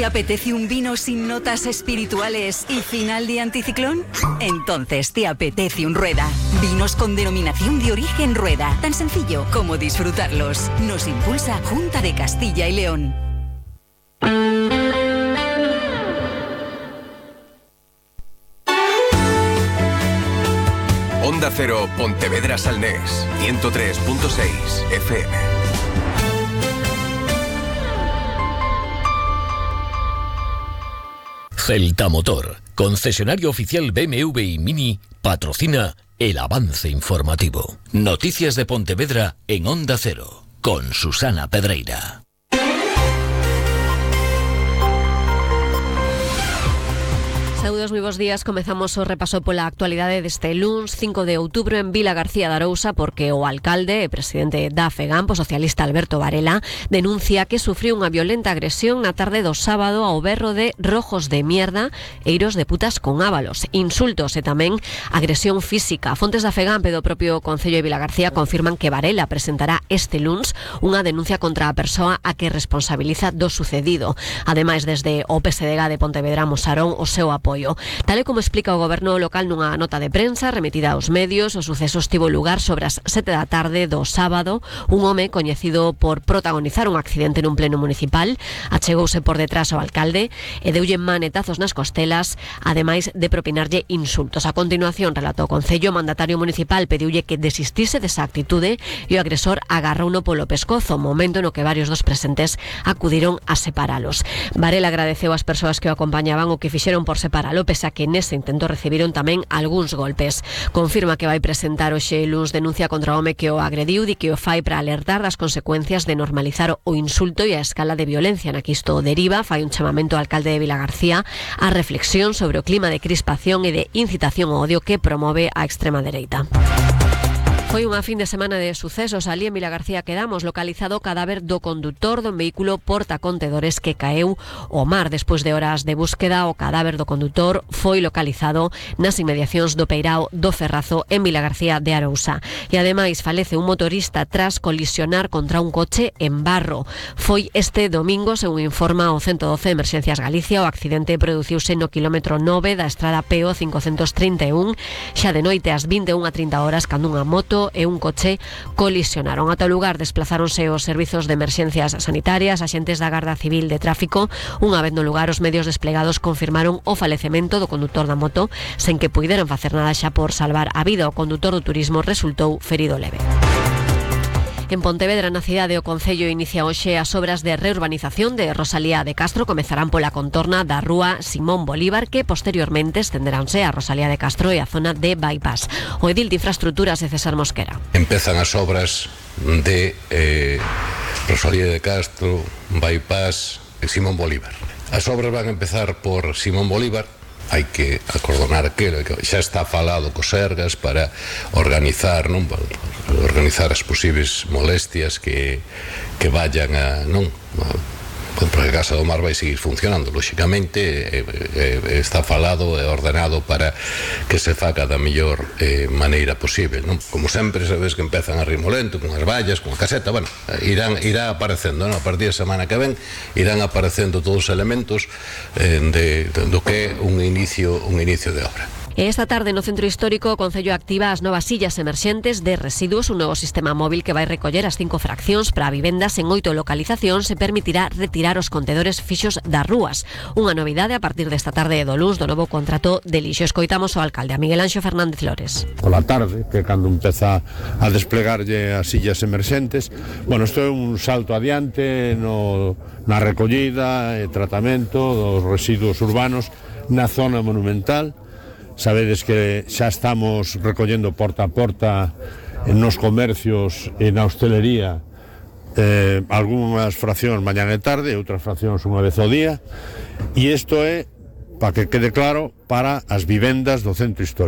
¿Te apetece un vino sin notas espirituales y final de anticiclón? Entonces te apetece un Rueda. Vinos con denominación de origen Rueda. Tan sencillo como disfrutarlos. Nos impulsa Junta de Castilla y León. Onda Cero, Pontevedra Salnés, 103.6 FM. Celta Motor, concesionario oficial BMW y Mini, patrocina el avance informativo. Noticias de Pontevedra en Onda Cero, con Susana Pedreira. Saúdos, moi bons días. Comezamos o repaso pola actualidade deste luns 5 de outubro en Vila García de Arousa, porque o alcalde e presidente da FEGAMP, o socialista Alberto Varela, denuncia que sufriu unha violenta agresión na tarde do sábado ao berro de rojos de mierda e iros de putas con ábalos, insultos e tamén agresión física. Fontes da FEGAMP e do propio Concello de Vila García confirman que Varela presentará este luns unha denuncia contra a persoa a que responsabiliza do sucedido. Ademais, desde o PSDG de Pontevedra mostraron o seu apoio. Tal e como explica o goberno local nunha nota de prensa remitida aos medios, o suceso estivo lugar sobre as 7 da tarde do sábado. Un home coñecido por protagonizar un accidente nun pleno municipal achegouse por detrás ao alcalde e deulle manetazos nas costelas, ademais de propinarlle insultos. A continuación, relatou o Concello, o mandatario municipal pediulle que desistise desa actitude e o agresor agarrouno polo pescozo, momento no que varios dos presentes acudiron a separalos. Varela agradeceu ás persoas que o acompañaban o que fixeron por separalo, pese a que nese intento recibiron tamén algúns golpes. Confirma que vai presentar hoxe luns denuncia contra o home que o agrediu e que o fai para alertar das consecuencias de normalizar o insulto e a escala de violencia na que isto deriva. Fai un chamamento ao alcalde de Vila García a reflexión sobre o clima de crispación e de incitación ao odio que promove a extrema dereita. Foi unha fin de semana de sucesos. Ali en Vila García quedamos localizado o cadáver do condutor dun vehículo portacontedores que caeu ao mar. Despois de horas de búsqueda, o cadáver do condutor foi localizado nas inmediacións do Peirao do Ferrazo en Vila García de Arousa. E ademais falece un motorista tras colisionar contra un coche en Barro. Foi este domingo, según informa o 112 Emerxencias Galicia. O accidente produciuse no kilómetro 9 da estrada PO 531, xa de noite ás 21:30 horas, cando unha moto e un coche colisionaron. Ata o lugar desplazáronse os servizos de emerxencias sanitarias, axentes da Garda Civil de Tráfico. Unha vez no lugar, os medios desplegados confirmaron o falecemento do condutor da moto, sen que puideran facer nada xa por salvar a vida. O condutor do turismo resultou ferido leve. En Pontevedra, na cidade, o Concello inicia hoxe as obras de reurbanización de Rosalía de Castro. Comezarán pola contorna da rúa Simón Bolívar, que posteriormente estenderánse a Rosalía de Castro e a zona de Bypass. O edil de Infraestructuras de César Mosquera. Empezan as obras de Rosalía de Castro, Bypass e Simón Bolívar. As obras van a empezar por Simón Bolívar. Hai que acordonar aquilo que xa está falado cos Sergas para organizar, non? Para organizar as posibles molestias que vayan a, non? Porque a Casa do Mar vai seguir funcionando, lóxicamente está falado e ordenado para que se faga da mellor maneira posible, non? Como sempre, sabes que empezan a ritmo lento, con as vallas, con a caseta, bueno, irá aparecendo, non? A partir da semana que ven irán aparecendo todos os elementos do que é un inicio de obra. E esta tarde no Centro Histórico o Concello activa as novas sillas emerxentes de residuos, un novo sistema móvil que vai recoller as 5 fraccións para vivendas en 8 localizacións e permitirá retirar os contedores fixos das rúas. Unha novidade a partir desta tarde do luns do novo contrato de lixo. Escoitamos o alcalde, a Miguel Anxo Fernández Flores. Pola tarde, que cando empeza a desplegarlle as sillas emerxentes, bueno, isto é un salto adiante na recollida e tratamento dos residuos urbanos na zona monumental. Sabedes que xa estamos recollendo porta a porta nos comercios e na hostelería algunhas fraccións mañá e tarde, outras fraccións unha vez ao día, e isto é, para que quede claro, para as vivendas do centro histórico.